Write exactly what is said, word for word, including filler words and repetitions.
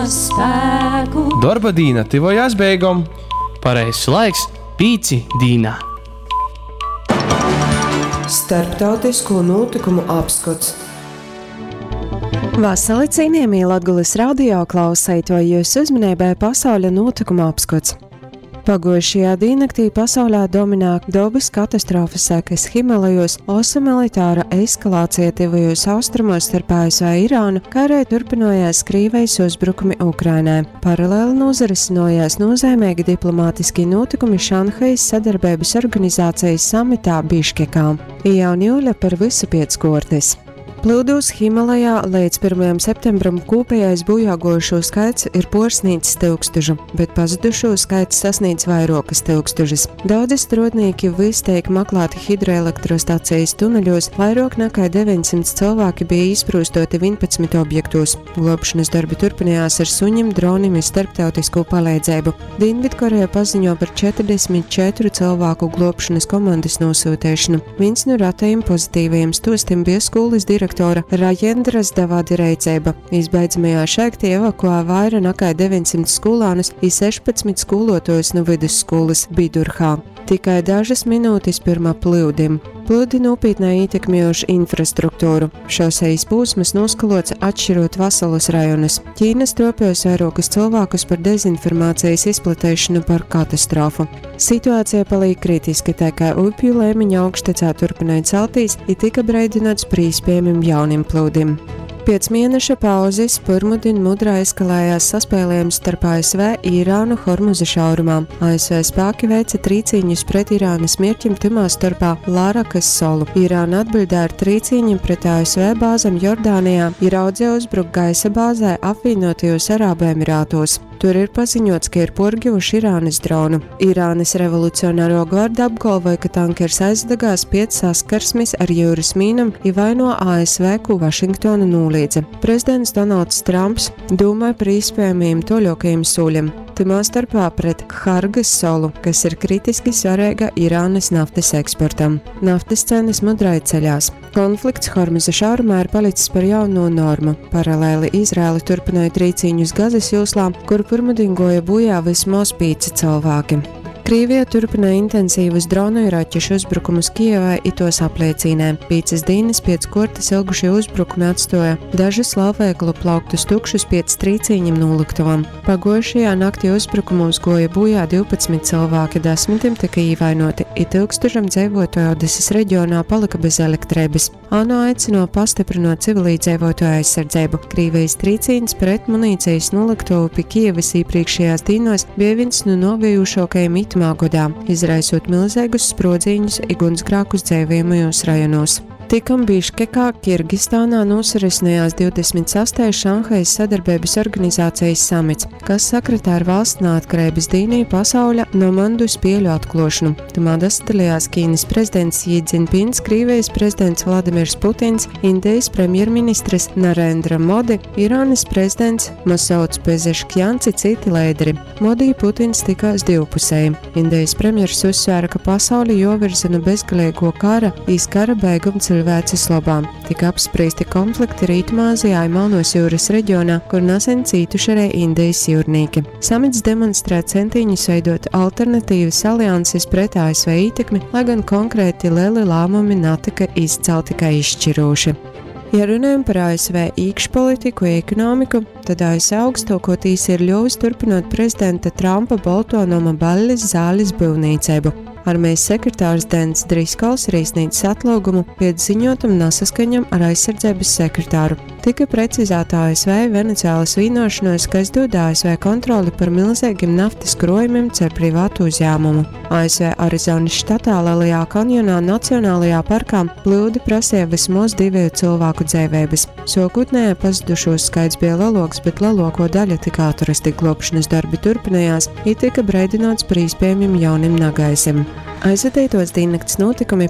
Spēku. Dorba dīna tyvojās beigom. Pareizs laiks pīci dīnā. Starptautisko notikumu apskots. Vasali cienījamie Latgulas radio klausētoji, jūsu uzmanībai pasauļa notikuma apskots. Paguojušajā dīnnaktī pasaulē dominē dabas katastrofas sekas Himalajos, osa militāra eskalācija tuvajos austrumos starp A S V Irānu, kā arī turpinājās Krievijas uzbrukumi Ukrainai. Paralēli nozarisinājās nozīmīgi diplomātiski notikumi Šanhajas sadarbības organizācijas samitā Biškekā. Jau niule par visu piec kuortys. Plyudūs Himalajā līdz pirmajam septembram kopējais bojāgojušo skaits ir puorsnīdzs tyukstužu, bet pazudušo skaits sasniedz vairuokys tyukstužys. Daudzi struodnīki vys teik maklāti hidroelektrostacejis tuneļos, vairuok nakai deveņsimts cylvāki bija īsprūstoti vīnpadsmit objektos. Gluobšonys dorbi turpinājās ar suņim, dronim i starptautiskū paleidzeibu. Dīnvidkoreja paziņo par četrdesmit četru cylvāku gluobšonys komandys nūsyuteišonu. Vīns nu ratajim pozitīvajim stuostim bija skūlys direktora Rajendras Davadi reiceiba. Izbeidzamajā šaļtī evakuē vaira nakai deveņsimts skūlānus i sešpadsmit skūluotuojus nu vydusskūlys Bidurhā. Tikai dažys minūtis pyrma plyudim. Plyudi nūpītnai ītekmējuši infrastruktūru. Šoseis pūsmys nūskalots, atšķirot vasalus rajonus. Ķīna stropēs vairuokus cylvākus par dezinformācijas izplateišonu par katastrofu. Situācija paliek kritiska, tā kā upju leimiņa augštecā turpināja celtīs i tika breidinots par īspējamim jaunim plūdim. Piec mieneša pauzis pyrmudin mudrai eskalējās saspēlējums starp A S V i Irānu Hormuza šaurumā. A S V spāki veica trīcīņus pret Irānas mierķim, tymā storpā Lārakas solu. Irāna atbiļdēja ar trīcīņim pret A S V bāzem Jordānijā i raudzeja uzbrukt gaisa bāzē Apvienotajos Arābu Emirātos. Tur ir paziņots, ka ir puorgivuši Irānas dronu. Irānas revolucionāro gvardu apgalvoja, ka tankers aizdegās piec saskarsmis ar jūras mīnam i vaino A S V, kū Vašingtona nūlīdze. Prezidents Donalds Trumps dūmāja par īspējamajiem tuoļuokajim sūļim, tymā starpā pret Hargas solu, kas ir kritiski svarīga Irānas naftas eksportam. Naftas cenas mudrai ceļās. Konflikts Hormuza šaurumā ir palicis par jauno normu. Paralēli Izraela turpināja trīcīņus Gazas joslā, kur pirmudin goja bojā vismoz pīci cylvāki. Krīvija turpina intensīvus dronu i raķešu uzbrukumus Kijevai i tuos apleicīnē. Pīcys dīnys piec kuortys ilgušie uzbrukumi atstuoja dažus lielveikalu plauktus tukšus piec trīcīņim nūlyktovam. Paguojušajā naktī uzbrukumūs guoja būjā divpadsmit cylvāki, desmitim tyka īvainoti, i tyukstužam dzeivuotuoju Odesys regionā palyka bez elektreibys. ANO aicyno pastiprinot civilīdzeivuotuoju aizsardzeibu. Krīvejis trīcīņs pret munīcejis nūlyktovu pi Kijevys īprīkšējās dīnuos bija vīns nu nuovejušuokajim itymā godā, izraisūt milzeigus spruodzīņus i guņsgrākus dzeivojamajūs rajonūs. Tikom Biškekā, Kirgistānā nūsarisinājās divdesmit sastais Šanhajas sadarbeibys organizācejis samits, kas sakritā ar valsts naatkareibys dīnu i pasauļa nomandu spieļu atkluošonu. Tymā dasadalījās Ķīnys prezidents Ji Dzinpins, Krīvejis prezidents Vladimirs Putins, Indejis premjerministrs Narendra Modi, Irānys prezidents Masauds Pezeškjans i cyti leideri. Modi i Putins tikās divpusēji. Indejis premjers uzsvēra, ka pasauli juovirza nu bezgaleiguo kara iz kara beigom cilvēces lobā. Tika apsprīsti konflikti Rītumāzijā i Melnos jūras reģionā, kur nasen cītuši arī Indejis jūrnīki. Samits demonstrē centīņus veidot alternatīvas alianses pret A S V ītekmi, lai gan konkrēti lieli lēmumi natika izcelti kā izšķirūši. Ja runājam par A S V īkšpolitiku i ekonomiku, tad A S V augstuoko tīsa ir ļuvis turpinot prezidenta Trumpa Bolto noma ballis zālis byuvnīceibu. Armijas sekretārs Dens Driskols ir iesniedzis atlūgumu piec ziņotam nasaskaņam ar aizsardzeibys sekretāru. Tika precizēta A S V Venecuēlas vienošanos, kas dod A S V kontroli par milzīgiem naftas krojumiem caur privātu uzņēmumu. A S V Arizonas štatā Lielajā kanjonā Nacionālajā parkā plūdi prasīja vismaz divu cilvēku dzeiveibys. Sokutnēji pazudušos skaits bija leloks, bet lielāko daļu tika atrasti, glābšanas darbi turpinājās, i tika breidinots par iespējamiem jauniem nagaisim. Aizvadītos diennakts notikumi.